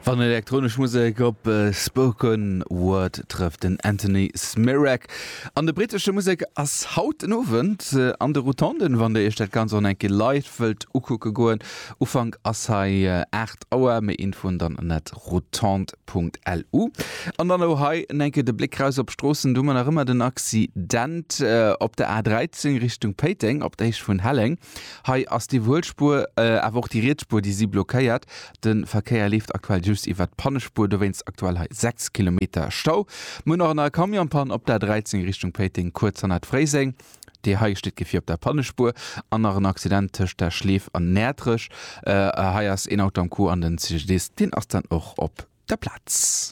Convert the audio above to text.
Wann elektronesch Musek op Spoken Word trëfft, den Anthony Smirek an de brittesche Musek ass haut den Owend an de Rotonden, wann der iech dat Ganzt och nach eng Kéier live wëllt ukucke goen. Ufank ass hei 8 Auer, méi Infoen dann ënnert rotonde.lu. An dann elo hei en eng Kéier de Bléck raus op d'Stroossen, do hu mer nach ëmmer den Accident op der A13 Richtung Péiteng op der Héicht vun Helleng. Hei ass déi Wuelspuer, awer och déi riets Spuer, déi si blockéiert. De Verkéier leeft aktuell just iwwert d'Pannespuer, dowéinst aktuell hei 6 Kilometer Stau. Mir hunn och nach e Camionspann op der 13 Richtung Péiteng, kuerz hannert Fréiseng. Déi hei steet d'Gefier op der Pannespuer. An nach en Accident tëscht der Schleef an Näertrech. Hei ass een Auto am Coup an den CGDIS, deen ass dann och op der Plaz.